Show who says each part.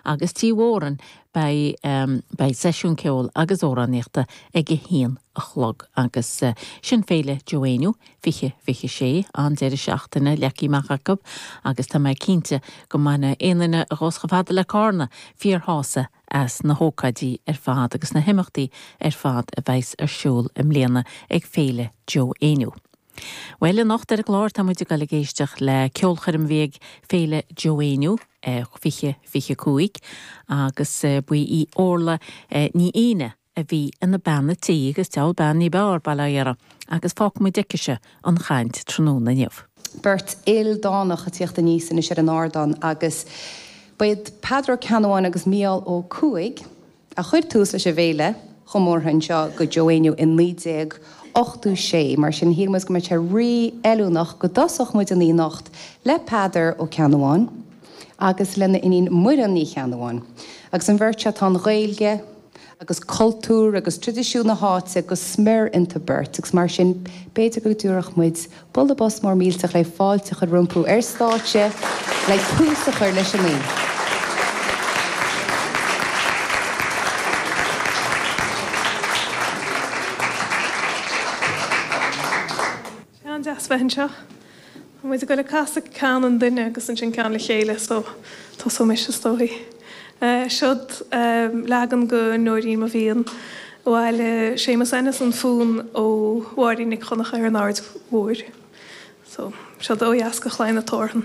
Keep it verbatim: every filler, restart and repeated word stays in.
Speaker 1: Agus Tí Mhóran beidh um, beidh seisiún ceoil agus amhránaíochta ag a haon a chlog agus uh, sin féile Joe Éinniú fiche fiche sé an deireadh seachtaine leagtha amach acu agus tá mé cinnte go mbainfidh aon duine a ghabhfas chomh fada le Carna fíorshásamh as na hócáidí ar fad agus na himeachtaí ar fad a bheas ar siúl i mbliana ag féile Joe Éinniú. Well anocht ar an gclár tá muid ag dul ag éisteacht le ceolchoirm a bhí ag féile Joe Éinniú fiche fiche cúig agus ba í Orla Ní Aoine a bhí ina bean tí agus deabhal bean ní b'fhearr baile agus fágfaimid aici an chaint tráthnóna inniu.
Speaker 2: Beirt ildánach ag tíocht aníos anois ar an ardán agus b'iad Peadar Ó Ceannabháin agus Mícheál Ó Cuaig a chuir tús leis an bhféile chomórtha anseo go Joe Éinniú in naoi déag ochtó sé, mar sin shíl muid go mbeadh sé rí-fheiliúnach go dtosódh muid an anocht le Peadar Ó Ceannabháin agus lena iníon Muireann Ní Cheannabháin. Agus an bheirt seo tá an Ghaeilge agus cultúr agus traidisiún na háite go smior iontu beirt, agus mar sin b'fhéidir go dtabharfadh muid bualadh bos mór millteach le fáilte a chur rompu ar stáitse le tús a chur leis an oíche.
Speaker 3: An-deas bheith anseo. Tá muid ag dul ag casadh ceann an duine agus ansin ceann le chéile so tosóidh mise is dóigh. Seod leagan de Nóirín Mo Mhian a bhailigh Séamus Ennis an fonn ó Mháirín Nic Dhonncha ar an Aird Mhóir. So seod ó dheas de Chlaí na Teorann.